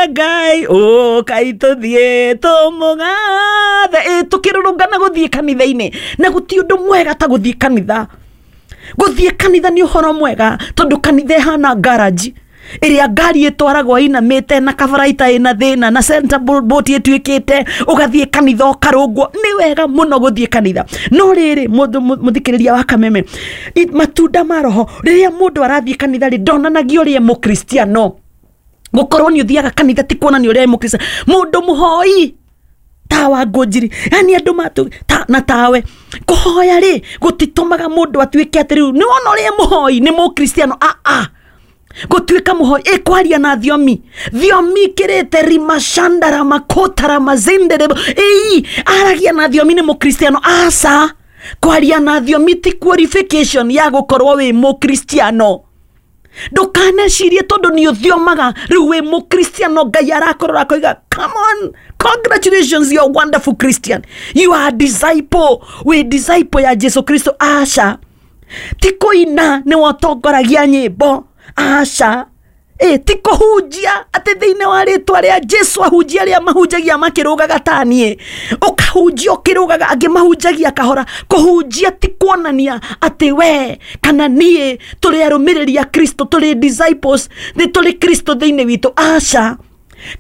Ngai, ũkai tũthiĩ tũmũgathe. Ĩ tũkĩrũrũngana gũthiĩ kanitha-inĩ, na gũtirĩ ũndũ mwega ta gũthiĩ kanitha. Gũthiĩ kanitha nĩ ũhoro mwega, tondũ kanitha ĩhana garage ĩrĩa ngari ĩtwaragwo ĩinamĩte na kabaraita ĩna thĩna na center bolt ĩtuĩkĩte, ũgathiĩ kanitha ũkarũngwo. Nĩ wega mũno gũthiĩ kanitha. No rĩrĩ, mũndũ mũthikĩrĩria wa Kameme, matunda ma roho, rĩrĩa mũndũ arathiĩ kanitha rĩ, ndonanagia ũrĩa mũkristiano. Gũkorwo nĩ ũthiaga kanitha ti kuonania ũrĩa mũkristiano. Mũndũ mũhoi tawa ngũnjiri, yani andũ matu ta, na tawe kũhoya rĩ gũtitũmaga mũndũ atuĩke atĩ rĩu nĩ wona ũrĩa mũhoi nĩ mũkristiano. A a gũtuĩka mũhoi ĩ kwaria na thiomi, thiomi ikĩrĩte rimashandara makotara mazindere, ĩi aragia na thiomi nĩ mũkristiano. Aca, kwaria na thiomi ti qualification ya gũkorwo wĩ mũkristiano. Ndũkanecirie tondũ nĩ ũthiomaga rĩu wĩ mũkristiano, Ngai arakorora akoiga come on, congratulations, you are wonderful Christian, you are a disciple, wĩ disciple ya Jesu Kristo. Aca, ti kũina nĩ wotongoragia nyĩmbo. Aca, ĩ ti kũhunjia atĩ thĩinĩ wa rĩtwa rĩa Jesu, ahunjia arĩa mahunjagia makĩrũgaga ta niĩ, ũkahunjia ũkĩrũgaga, angĩ mahunjagia kahora. Kũhunjia ti kuonania atĩ we kana niĩ tũrĩ arũmĩrĩri a Kristo, tũrĩ disciples, nĩ tũrĩ Kristo thĩinĩ witũ. Aca,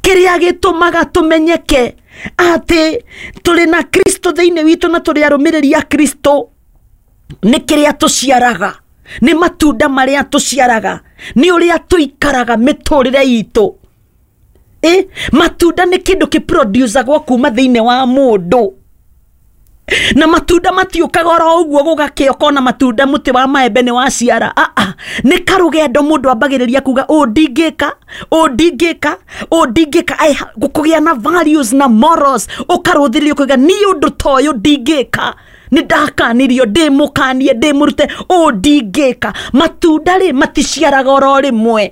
kĩrĩa gĩtũmaga tũmenyeke atĩ tũrĩ na Kristo thĩinĩ witũ na tũrĩ arũmĩrĩri a Kristo nĩ kĩrĩa tũciaraga, nĩ matunda marĩa tũciaraga, nĩ ũrĩa tũikaraga mĩtũrĩre itũ. Ĩ matunda nĩ kĩndũ kĩproducagwo kuma thĩinĩ wa mũndũ, na matunda matiũkaga oro ũguo gũgakĩa ũkona matunda mũtĩ wa maembe nĩ waciara. Aa, nĩ karũgendo mũndũ ambagĩrĩria kuga ũũ ndingĩka, ũũ ndingĩka, ũũ ndingĩka. Ai, kũgĩa na values na morals, ũkarũthĩrĩria ũkauga niĩ ũndũ ta ũyũ ndingĩka, nĩ ndakanirio, ndĩ mũkanie, ndĩ mũrute, ũũ ndingĩka. Matunda rĩ maticiaraga oro rĩmwe.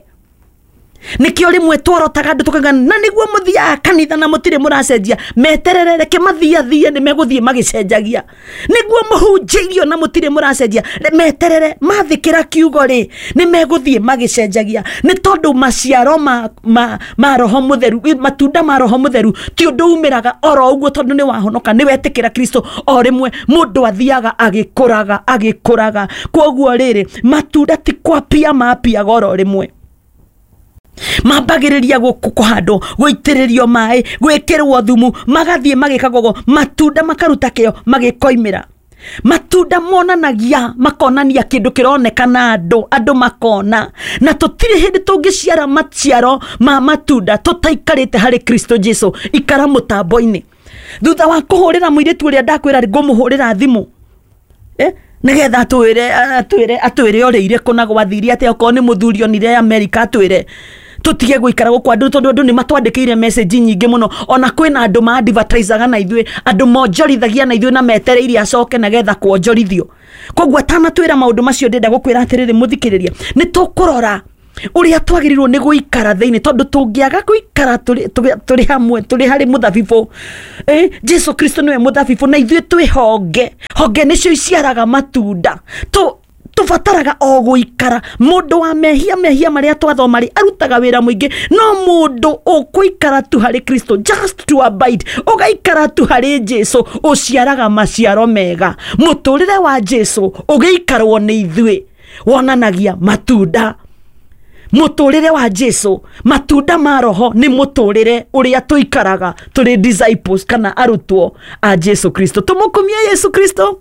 Nĩkĩo rĩmwe tworotaga andũ tũkauga na nĩguo mũthiaga kanitha na mũtirĩ mũracenjia. Meterere, reke mathiathie, nĩ megũthiĩ magĩcenjagia. Nĩguo mũhunjĩirio na mũtirĩ mũracenjia, meterere, mathĩkĩra kiugo rĩ, nĩ megũthiĩ magĩcenjagia. Nĩ tondũ maciaro ma roho mũtheru, matunda ma roho mũtheru ti ũndũ umĩraga oro ũguo tondũ nĩ wahonoka, nĩ wetĩkĩra Kristo o rĩmwe. Mũndũ athiaga agĩkũraga, agĩkũraga. Koguo rĩrĩ, matunda ti kwapia mapiaga oro rĩmwe, mambagĩrĩria kũhandwo, gũitĩrĩrio maĩ, gwĩkĩrwo thumu, magathiĩ magĩkagwo ũguo, matunda makaruta kĩo magĩkoimĩra. Matunda monanagia, makonania kĩndũ kĩronekana andũ, andũ makona. Na tũtirĩ hĩndĩ tũngĩciara maciaro ma matunda tũtaikarĩte harĩ Kristo Jesu. Ikara mũtambo-inĩ. Thutha wa kũhũrĩra mũirĩtu ũrĩa ndakwĩra ngũmũhũrĩra thimũ, nĩgetha atwĩre ũrĩire kũ na gwathire atĩa, okorwo nĩ mũthuri onire America atwĩre tũtige gũikara gũkũ andũ, tondũ andũ nĩ matwandĩkĩire message nyingĩ mũno. Ona kwĩna andũ ma advertisaga na ithuĩ, andũ monjorithagia na ithuĩ na metereire acoke nĩgetha kuonjorithio. Koguo atanatwĩra maũndũ macio, ndĩrenda gũkwĩra atĩrĩrĩ mũthikĩrĩria, nĩ tũkũrora ũrĩa twagĩrĩirwo nĩ gũikara thĩinĩ, tondũ tũngĩaga gũikara tũrĩ hamwe, tũrĩ harĩ mũthabibũ, Jesu Kristo nĩwe mũthabibũ na ithuĩ twĩ honge. Honge nĩcio iciaraga matunda. Tũbataraga o gũikara. Mũndũ wa mehia, mehia marĩa twathoma rĩ, arutaga wĩra mũingĩ, no mũndũ ũkũikara tu harĩ Kristo, just to abide, ũgaikara tu harĩ Jesu, ũciaraga maciaro mega. Mũtũrĩre wa Jesu ũgĩikarwo nĩ ithuĩ wonanagia matunda. Mũtũrĩre wa Jesu, matunda ma roho nĩ mũtũrĩre ũrĩa tũikaraga tũrĩ disciples kana arutwo a Jesu Kristo. Tũmũkumie Yesu Kristo.